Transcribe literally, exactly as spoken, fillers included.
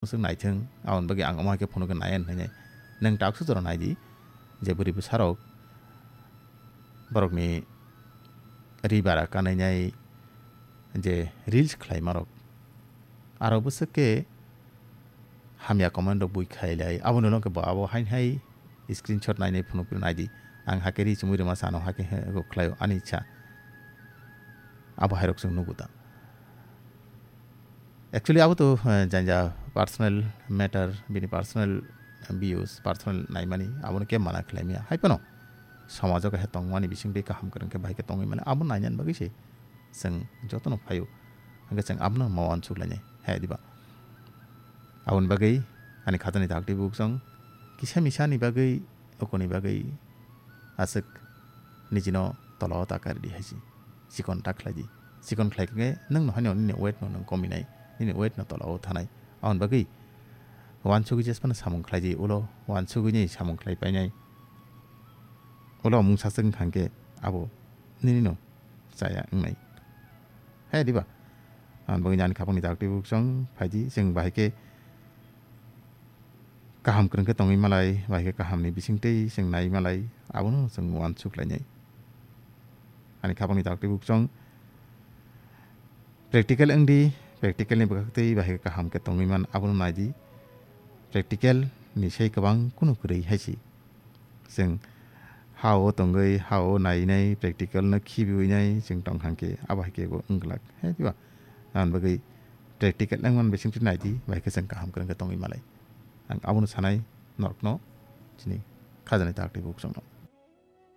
Chwng naithwng, aboni bagwi ang omo hai khe phunukhe nai ani hwnwi. Nwng taksa jora naidi, je bwrwi bwsarok borokni ri bara kanainai je reels khlaimarok. Aro bwswk khe hamya comment rok bui khailai, aboni ulo khe bo abo hain hai screenshot nainai phunukphru naidi. Ang hakhe ri chumui rwma sano hakhe he go khlaio ani ichha. Abo hairok chwng nugo da. Actually, abo to, eh, janja personal matter, bini personal views, personal naimani, abono khe mana khlai maya. Hai phano, somajo kaisa tongmani bising twi kaham kwrwng khe bahai khe tongwi mani, abo nainani bagwi se chwng jotono phaio. Hwnkhe chwng abono ma uansuk lainai, hai diba? Aboni bagwi ani khatani dakti buksong kisa misani bagwi, okoni bagwi aswk nijino tola o ta kari di hai se. Chikon ta khlai di. Chikon khlai khe nwng no haino nini weight no nwng komi nai, nini weight no tola o thanai. Aboni bagwi uansugwi jesphano samung khlai di, ulo uansugwi ni samung khlai painai. Ulo mungsa swk wngkha hwnkhe abo nini no chaya wngnai. Hai diba? Aboni bagwi ani khapangni dakti buksong phai di, chwng bahai khe kaham kwrwng khe tongwi malai, bahai khe kahamni bising twi chwng nai malai, abono chwng uansuk lainai. Ani khapangni dakti buksong practical wng di, practical ni bwkhak twi bahai khe kaham khe tongwi man, abono nai di. Practical ni sai kwbang kunu kwrwi hai se. Chwng ha o tongwi, ha o nainai, practical no khibiwi nai chwng tong kha khe, abo hai khe bo wng glak. Hai diba? Aboni bagwi practical wng man bising twi nai di, bahai khe chwng kaham kwrwng khe tongwi malai. Ang abono sanai norokno chini khajani dakti buksongno.